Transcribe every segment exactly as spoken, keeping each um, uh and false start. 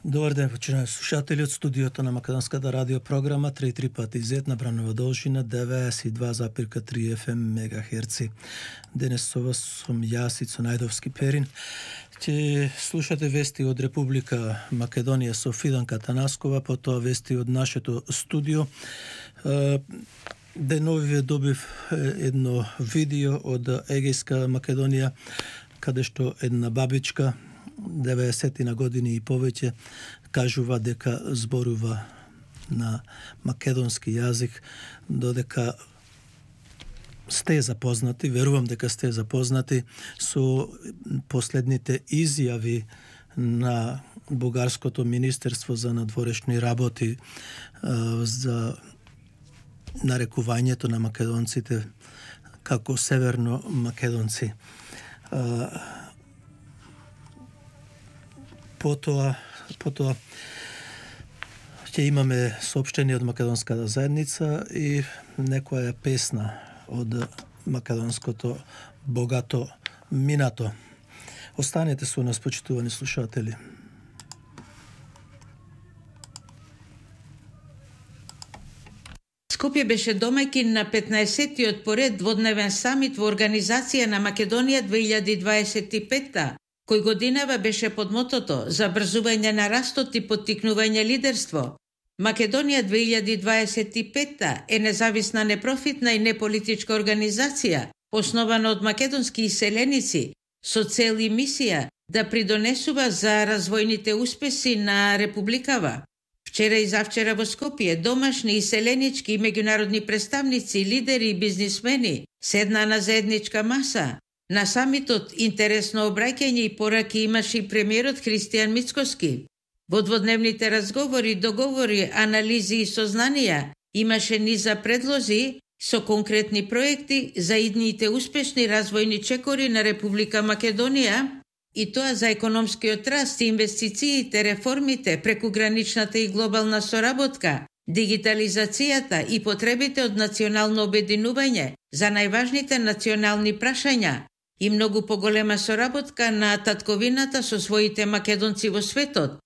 Добар ден, почитувани слушатели од студиото на Македонската радио програма три три пати зет на Бранова должина деветдесет и два запирка три еф ем мегахерци. Денес со вас сум јас Ицо Најдовски Перин. Ќе слушате вести од Република Македонија со Фиданка Танаскова, потоа вести од нашето студио. Деновиве добив едно видео од Егејска Македонија, каде што една бабичка деветдесет на години и повеќе кажува дека зборува на македонски јазик, додека сте запознати, верувам дека сте запознати со последните изјави на Бугарското министерство за надворешни работи за нарекувањето на македонците како северно македонци. Потоа, потоа ќе имаме соопштение од македонската заедница и некоја песна од македонското богато минато. Останете со нас, почитувани слушатели. Скопје беше домаќин на петнаесеттиот поред дводневен самит во Организација на Македонија две илјади дваесет и петта, кој годинава беше под мотото забрзување на растот и поттикнување лидерство. Македонија две илјади дваесет и петта е независна, непрофитна и неполитичка организација, основана од македонски иселеници, со цел и мисија да придонесува за развојните успеси на републикава. Вчера и завчера во Скопје домашни, иселенички и меѓународни представници, лидери и бизнисмени седнаа на заедничка маса. На самитот интересно обраќање и пораки имаше и премиерот Христијан Мицкоски. Во дводневните разговори, договори, анализи и сознанија имаше низа предлози со конкретни проекти за идните успешни развојни чекори на Република Македонија, и тоа за економскиот раст, инвестициите, реформите, прекуграничната и глобална соработка, дигитализацијата и потребите од национално обединување за најважните национални прашања и многу поголема соработка на татковината со своите македонци во светот.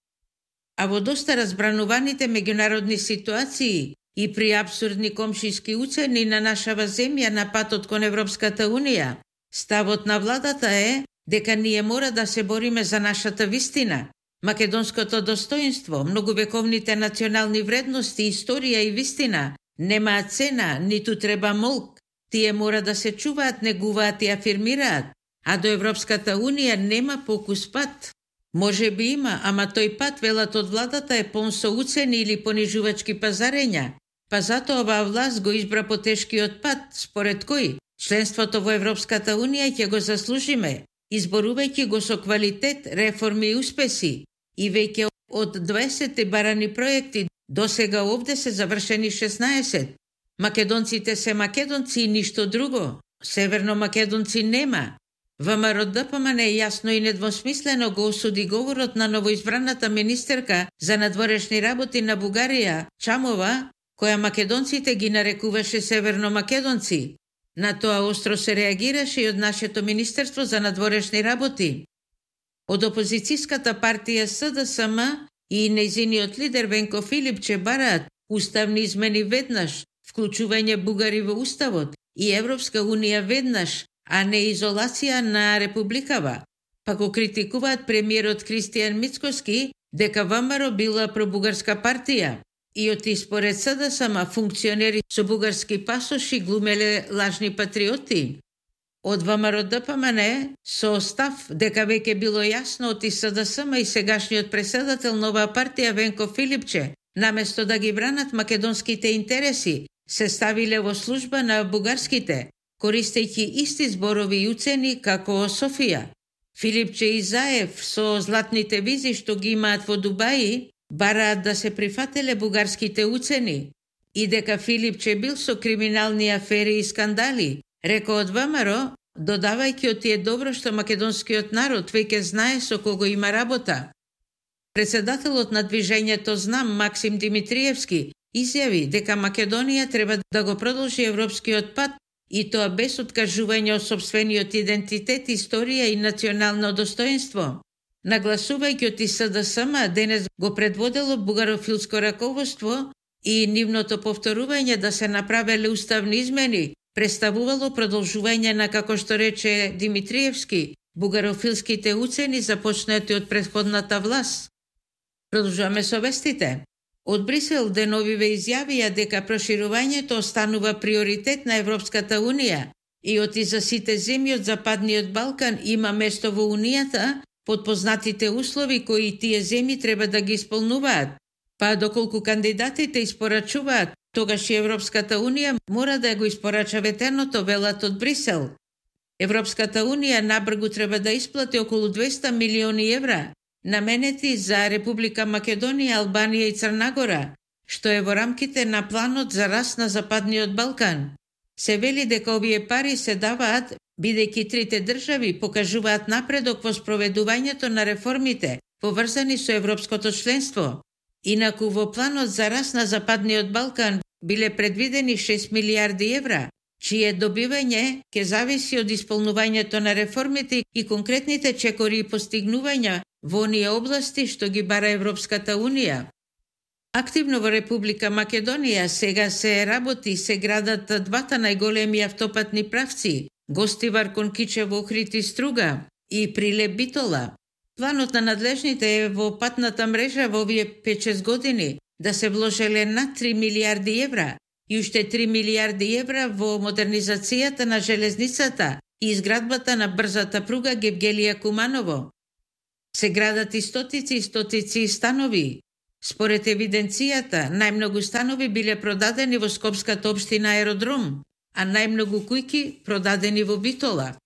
А во доста разбрануваните меѓународни ситуации и при абсурдни комшиски уцени на нашава земја на патот кон Европската Унија, ставот на владата е дека ние мора да се бориме за нашата вистина, македонското достоинство, многувековните национални вредности, историја и вистина немаат цена, ниту треба молк. Тие мора да се чуваат, негуваат и афирмираат, а до Европската Унија нема покус пат. Може би има, ама тој пат, велат од владата, е пон со уцени или понижувачки пазарења. Па зато оваа власт го избра потешкиот пат, според кој членството во Европската Унија ќе го заслужиме, изборувајќи го со квалитет, реформи и успеси. И веќе од дваесет барани проекти, до сега овде се завршени шеснаесет. Македонците се македонци и ништо друго. Северно македонци нема. ВМРО-ДПМН е јасно и недвосмислено го осуди говорот на новоизбраната министерка за надворешни работи на Бугарија, Чамова, која македонците ги нарекуваше северно македонци. На тоа остро се реагираше и од нашето Министерство за надворешни работи. Од опозицијската партија С Д С М и нејзиниот лидер Венко Филипче бараат уставни измени веднаш, вклучување бугари во уставот и Европска Унија веднаш, а не изолација на републикава. Па го критикуваат премиерот Христијан Мицкоски дека ВМРО била пробугарска партија и од според С Д С М функционери со бугарски пасоши глумеле лажни патриоти. Од ВМРО-ДПМН со став дека веќе било јасно од С Д С М и сегашниот преседател на оваа партија Венко Филипче, наместо да ги бранат македонските интереси, се ставиле во служба на бугарските, користејќи исти зборови и уцени како Софија. Филипче и Заев со златните визи што ги имаат во Дубаи бараат да се прифателе бугарските уцени и дека Филипче бил со криминални афери и скандали, рекол од ВМРО, додавајќи од тие добро што македонскиот народ веќе знае со кого има работа. Председателот на движењето Знам Максим Димитриевски изјави дека Македонија треба да го продолжи европскиот пат и тоа без откажување од сопствениот идентитет, историја и национално достоинство. Нагласувајќи од С Д С М, денес го предводело бугарофилско раководство и нивното повторување да се направеле уставни измени представувало продолжување на, како што рече Димитриевски, бугарофилските уцени започнати од претходната власт. Продолжуваме со вестите. Од Брисел деновиве изјавија дека проширувањето останува приоритет на Европската Унија и оти за сите земји од Западниот Балкан има место во Унијата под познатите услови кои тие земји треба да ги исполнуваат. Па доколку кандидатите испорачуваат, тогаш и Европската Унија мора да го испорача ветеното, велат од Брисел. Европската Унија набргу треба да исплати околу двеста милиони евра, наменети за Република Македонија, Албанија и Црна Гора, што е во рамките на планот за раст на Западниот Балкан. Се вели дека овие пари се даваат бидејќи трите држави покажуваат напредок во спроведувањето на реформите поврзани со европското членство. Инаку во планот за раст на Западниот Балкан биле предвидени шест милиарди евра, чие добивање ќе зависи од исполнувањето на реформите и конкретните чекори и постигнувања во оние области што ги бара Европската Унија. Активно во Република Македонија сега се работи се градат двата најголеми автопатни правци, Гостивар кон Кичево, Охрид и Струга и Прилеп Битола. Планот на надлежните е во патната мрежа во овие пет-шест години да се вложеле над три милиарди евра и уште три милиарди евра во модернизацијата на железницата и изградбата на брзата пруга Гевгелија Куманово. Се градат и стотици и стотици станови. Според евиденцијата, најмногу станови биле продадени во Скопската општина Аеродром, а најмногу кујки продадени во Битола.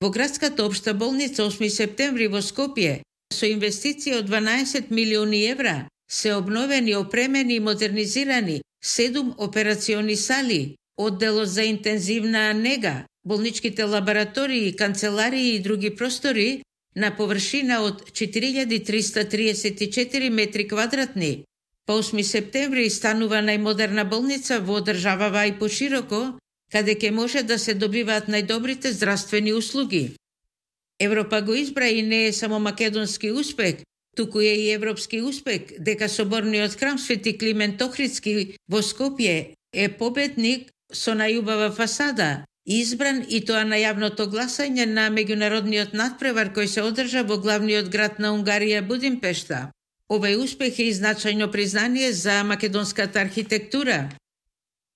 Во градската општа болница осми септември во Скопје со инвестиција од дванаесет милиони евра се обновени, опремени и модернизирани седум операциони сали, одделот за интензивна нега, болничките лаборатории, канцеларии и други простори на површина од четири илјади триста триесет и четири метри квадратни. По осми септември станува најмодерна болница во државава и пошироко, каде ќе може да се добиваат најдобрите здравствени услуги. Европа го избра и не е само македонски успех, туку е и европски успех, дека соборниот храм Свети Климент Охридски во Скопје е победник со најубава фасада, избран и тоа на јавното гласање на меѓународниот надпревар кој се одржа во главниот град на Унгарија Будимпешта. Овој успех е и значајно признание за македонската архитектура.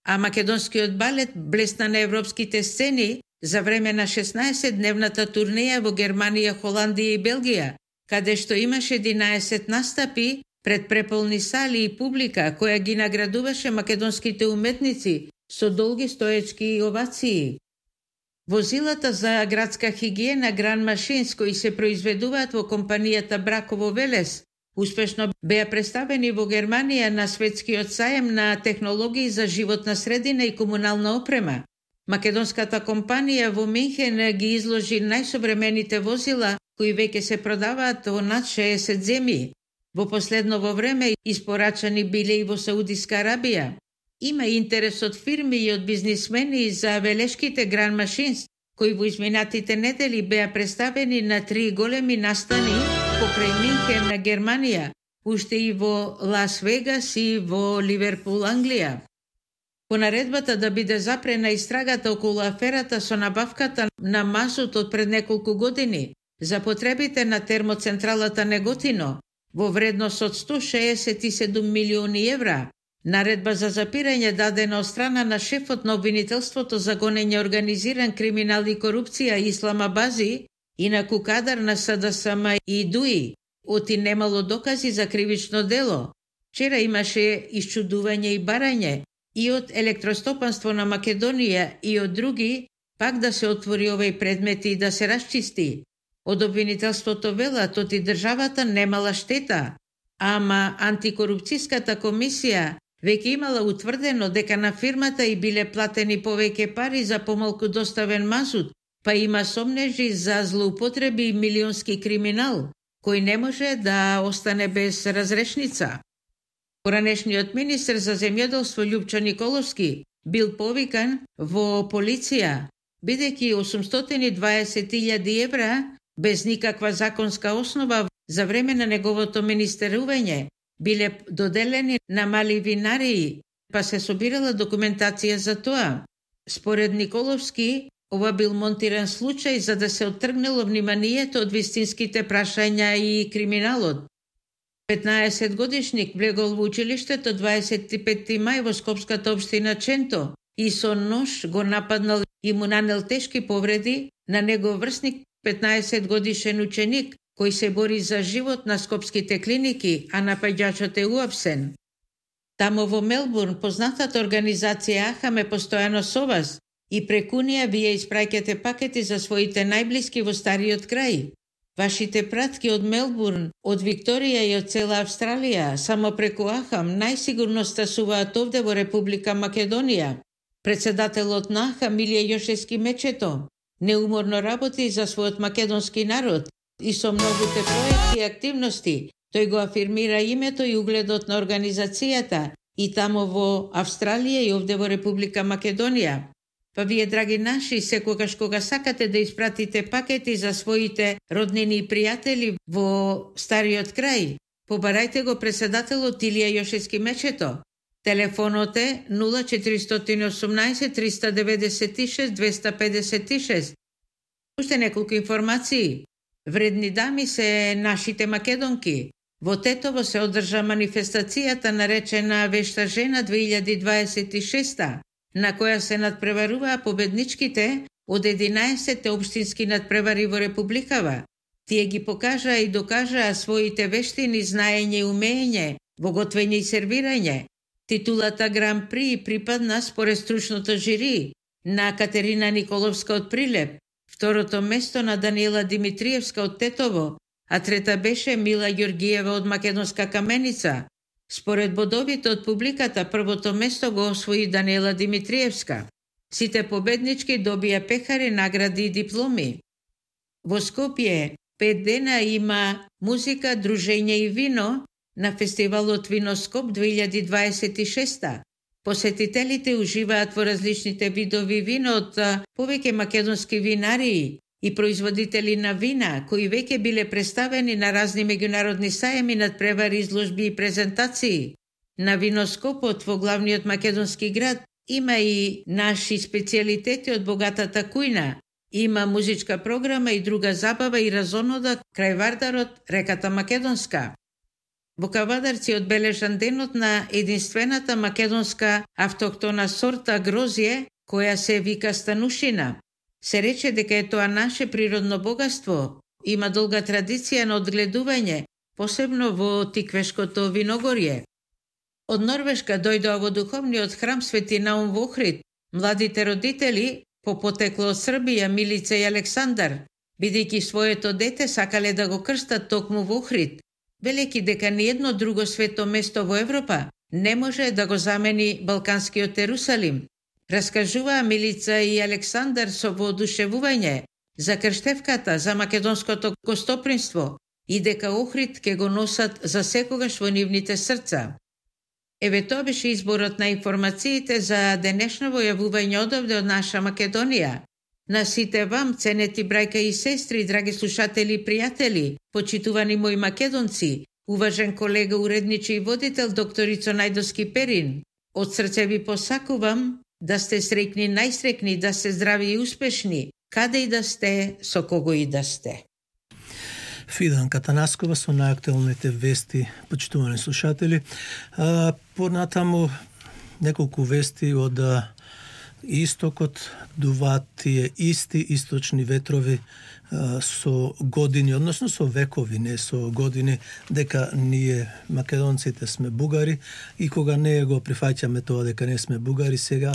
А македонскиот балет блесна на европските сцени за време на шеснаесетдневната турнеја во Германија, Холандија и Белгија, каде што имаше единаесет настапи пред преполни сали и публика која ги наградуваше македонските уметници со долги стоечки овации. Возилата за градска хигиена Гран Машинс кои се произведуваат во компанијата Браково Велес успешно беа представени во Германија на светскиот саем на технологии за животна средина и комунална опрема. Македонската компанија во Минхен ги изложи најсовремените возила кои веќе се продаваат во над шеесет земји. Во последново време испорачани биле и во Саудиска Арабија. Има интерес од фирми и од бизнисмени за велешките Гран Машинс, кои во изминатите недели беа представени на три големи настани покрај Минхен на Германија, уште и во Лас Вегас и во Ливерпул, Англија. По наредбата да биде запрена истрагата околу аферата со набавката на мазут од пред неколку години за потребите на термоцентралата Неготино во вредност од сто шеесет и седум милиони евра, наредба за запирање дадена од страна на шефот на обвинителството за гонење организиран криминал и корупција Ислама Бази, инаку кадар на С Д С М и ДУИ, оти немало докази за кривично дело. Вчера имаше исчудување и барање и од Електростопанство на Македонија и од други, пак да се отвори овој предмет и да се расчисти. Од обвинителството велат оти државата немала штета, ама антикорупцијската комисија веќе имала утврдено дека на фирмата и биле платени повеќе пари за помалку доставен мазут, па има сомнежи за злоупотреби и милионски криминал, кој не може да остане без разрешница. Поранешниот министер за земјоделство Љупчо Николовски бил повикан во полиција, бидејќи осумстотини и дваесет илјади евра без никаква законска основа за време на неговото министерување биле доделени на мали винарии, па се собирала документација за тоа. Според Николовски, ова бил монтиран случај за да се оттргнело вниманието од вистинските прашања и криминалот. петнаесет годишник влегол во училиштето дваесет и петти мај во Скопската општина Ченто и со нож го нападнал и му нанел тешки повреди на негов врсник, петнаесет годишен ученик, кој се бори за живот на скопските клиники, а напаѓачот е уапсен. Тамо во Мелбурн, познатата организација Ахам е постојано со вас и преку неа вие испраќате пакети за своите најблиски во стариот крај. Вашите пратки од Мелбурн, од Викторија и од цела Австралија, само преку Ахам најсигурно стасуваат овде во Република Македонија. Председателот на Ахам, Милија Јошевски Мечето, неуморно работи за својот македонски народ и со многуте проекти и активности тој го афирмира името и угледот на организацијата и тамо во Австралија и овде во Република Македонија. Па вие, драги наши, секогаш кога сакате да испратите пакети за своите роднини и пријатели во стариот крај, побарајте го председателот Илија Јошевски Мечето. Телефонот е нула четиристотини и осумнаесет триста деветдесет и шест двеста педесет и шест. Уште неколку информации. Вредни дами се нашите македонки. Во Тетово се одржа манифестацијата наречена Вешта жена две илјади дваесет и шеста, на која се надпреваруваа победничките од единаесет општински надпревари во Републикава. Тие ги покажаа и докажаа своите вештини, знаење и умење во готвење и сервирање. Титулата Гран При припадна според стручното жири на Катерина Николовска од Прилеп, второто место на Даниела Димитриевска од Тетово, а трета беше Мила Ѓоргиева од Македонска Каменица. Според бодовите од публиката, првото место го освои Даниела Димитриевска. Сите победнички добија пехари, награди и дипломи. Во Скопје пет дена има музика, дружење и вино на фестивалот Виноскоп две илјади дваесет и шеста. Посетителите уживаат во различните видови вино од повеќе македонски винарии и производители на вина, кои веќе биле представени на разни меѓународни сајми, надпревари, изложби и презентации. На Виноскопот во главниот македонски град има и наши специјалитети од богатата кујна. Има музичка програма и друга забава и разонода крај Вардарот, реката Македонска. Во Кавадарци одбележан денот на единствената македонска автохтона сорта грозје, која се вика станушина. Се рече дека е тоа наше природно богатство. Има долга традиција на одгледување, посебно во Тиквешкото виногорје. Од Норвешка дојдоа во духовниот храм Свети Наум во Охрид младите родители, по потекло од Србија, Милица и Александар, бидејќи своето дете сакале да го крстат токму во Охрид, велејќи дека ниедно друго свето место во Европа не може да го замени Балканскиот Ерусалим. Раскажуваа Милица и Александар со воодушевување за крштевката, за македонското гостопримство и дека Охрид ке го носат за секогаш во нивните срца. Еве тоа беше изборот на информациите за денешно јавување одовде од наша Македонија. На сите вам, ценети брајка и сестри, драги слушатели и пријатели, почитувани мои македонци, уважен колега, уредничи и водител докторицо Најдовски Перин, од срце ви посакувам да сте среќни, најсреќни, да сте здрави и успешни, каде и да сте, со кого и да сте. Фиданка Танаскова со најактуелните вести, почитувани слушатели. А, понатаму неколку вести од истокот, дуваат тие исти источни ветрови а, со години, односно со векови, не со години, дека ние македонците сме бугари и кога не го прифаќаме тоа дека не сме бугари, сега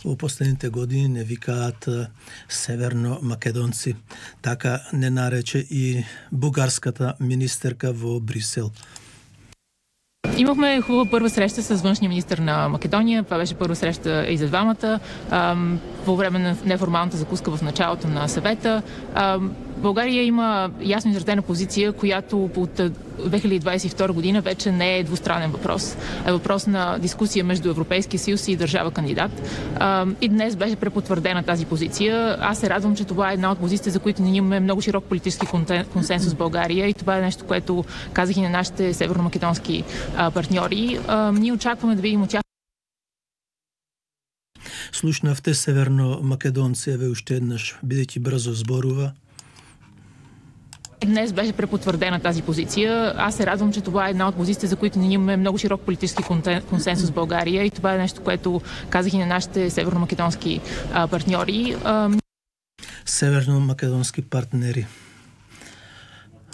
во последните години не викаат а, северно македонци. Така не нарече и бугарската министерка во Брисел. Имахме хубава първа среща с външния министър на Македония. Това беше първа среща и за двамата. По време на неформалната закуска в началото на съвета България има ясно изразена позиция, която от две хиляди двадесет и втора година вече не е двустранен въпрос. Е въпрос на дискусия между Европейския съюз и държава кандидат. И днес беше препотвърдена тази позиция. Аз се радвам, че това е една от позициите, за които ние имаме много широк политически консенсус в България и това е нещо, което казах и на нашите северномакедонски партньори. Ние очакваме да видим от тях. Слушнавте северномакедонци, еве уште еднаш, бидејќи брзо зборува. Днес беше препотвърдена тази позиция. Аз се радвам, че това е една от позициите, за които ние имаме много широк политически консенсус в България и това е нещо, което казах и на нашите северномакедонски партньори. Северномакедонски партнери.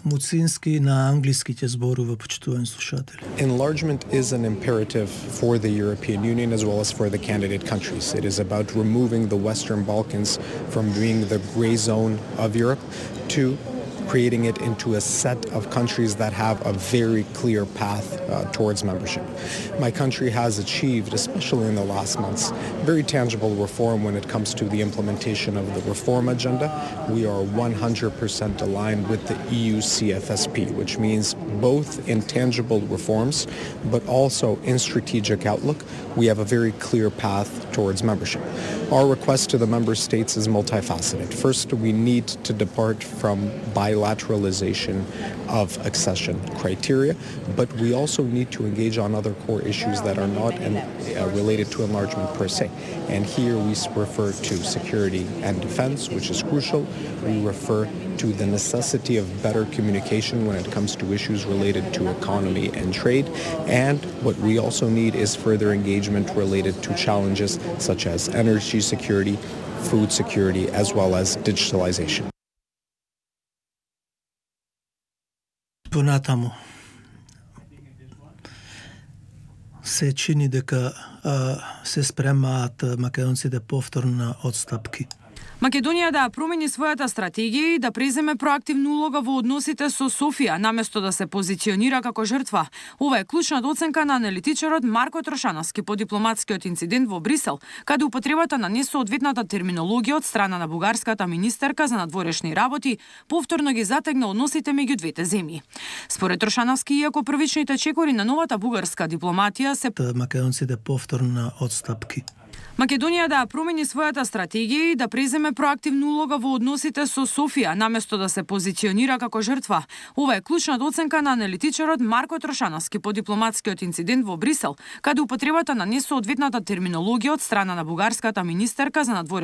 Муцински на англиски ќе зборува, почитувани слушатели. Enlargement is an imperative for the European Union as well as for the candidate countries. It is about removing the Western Balkans from being the gray zone of Europe to creating it into a set of countries that have a very clear path uh, towards membership. My country has achieved, especially in the last months, very tangible reform when it comes to the implementation of the reform agenda. We are one hundred percent aligned with the E U C F S P, which means both in tangible reforms, but also in strategic outlook, we have a very clear path towards membership. Our request to the member states is multifaceted. First, we need to depart from bilateralization of accession criteria, but we also need to engage on other core issues that are not in, uh, related to enlargement per se. And here we refer to security and defense, which is crucial. We refer to the necessity of better communication when it comes to issues related to economy and trade. And what we also need is further engagement related to challenges such as energy security, food security, as well as digitalization. Понатаму се чини дека а, се спремаат македонците повторно на отстапки. Македонија да промени својата стратегија и да преземе проактивна улога во односите со Софија, наместо да се позиционира како жртва. Ова е клучната оценка на аналитичарот Марко Трошановски по дипломатскиот инцидент во Брисел, каде употребата на несоодветната терминологија од страна на бугарската министерка за надворешни работи повторно ги затегна односите меѓу двете земји. Според Трошановски, иако првичните чекори на новата бугарска дипломатија се македонците повторно на отстапки. Македонија да промени својата стратегија и да преземе проактивна улога во односите со Софија, наместо да се позиционира како жртва. Ова е клучната оценка на аналитичарот Марко Трошановски по дипломатскиот инцидент во Брисел, каде употребата на несоодветната терминологија од страна на бугарската министерка за надворешни